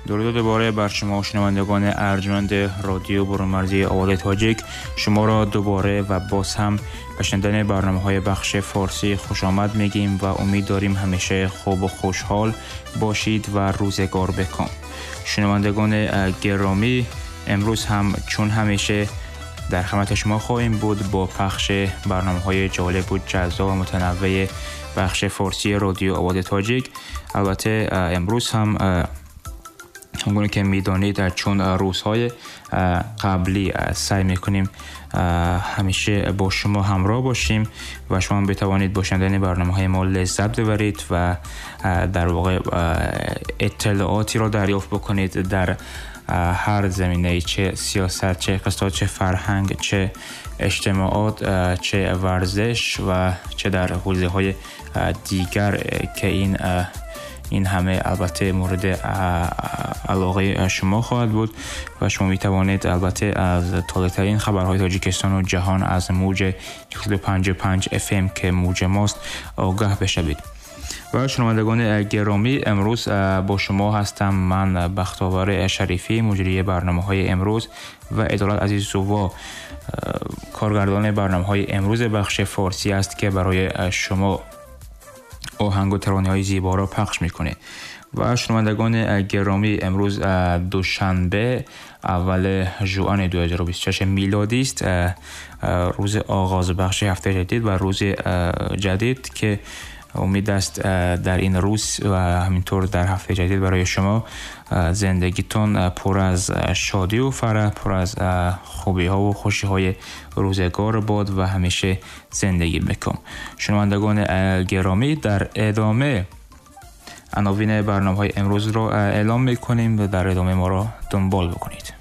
Дуруд дубора бар шумо, шунавандагони арҷманди радиои бурунмарзии Овози Тоҷик. Шуморо дубора ва боз ҳам ба шунидани барномаҳои бахши форсӣ хушомад мегӯем ва умед дорем ҳамеша хуб ва хушҳол бошед ва рӯзгор биком. Шунавандагони гиромӣ, имрӯз ҳам чун ҳамеша дар хидмати шумо хоҳем буд бо пахши барномаҳои ҷолиб ва ҷаззоб ва мутанаввеи бахши форсии радиои Овози Тоҷик. Албатта имрӯз ҳам ҳамгуна ки медонед, чун рӯзҳои қаблӣ саъй мекунем ҳамеша бо шумо ҳамроҳ бошем ва шумо битавонед бо шунидани барномаҳои мо лаззат бибаред ва дар воқеъ иттилоотеро дарёфт бикунед дар ҳар заминае, чӣ сиёсат, чӣ иқтисод, чӣ фарҳанг, чӣ иҷтимоот, чӣ варзиш ва чӣ дар ҳавзаҳои дигар ки ин ҳама албатта мавриди алоқаи шумо хоҳад буд ва шумо метавонед албатта аз тозатарин хабарҳои Тоҷикистон ва ҷаҳон аз мавҷи 155 FM ки мавҷи мост огаҳ бишавед. Ва шунавандагони гиромӣ, имрӯз бо шумо ҳастам ман, Бахтовар Шарифӣ, муҷрии барномаҳои имрӯз, ва Адолат Азизова, коргардони барномаҳои имрӯзи бахши форсӣ аст ки барои шумо оҳанг ва таронаҳои зеборо пахш мекунед. Ва шунавандагони гиромӣ, имрӯз душанбе, аввали жуани 2026 милодӣ аст, рӯзи оғози бахши ҳафтаи ҷадид ва рӯзи ҷадид ки умед аст дар ин рӯз ва ҳаминтавр дар ҳафтаи ҷадид барои шумо зиндагитон пур аз шодӣ ва фараҳ, пур аз хубиҳо ва хушиҳои рӯзгор бод ва ҳамеша зиндагӣ бикун. Шунавандагони гиромӣ, дар идома عناوین برنامه‌های امروز رو اعلام می‌کنیم و در ادامه ما را دنبال بکنید.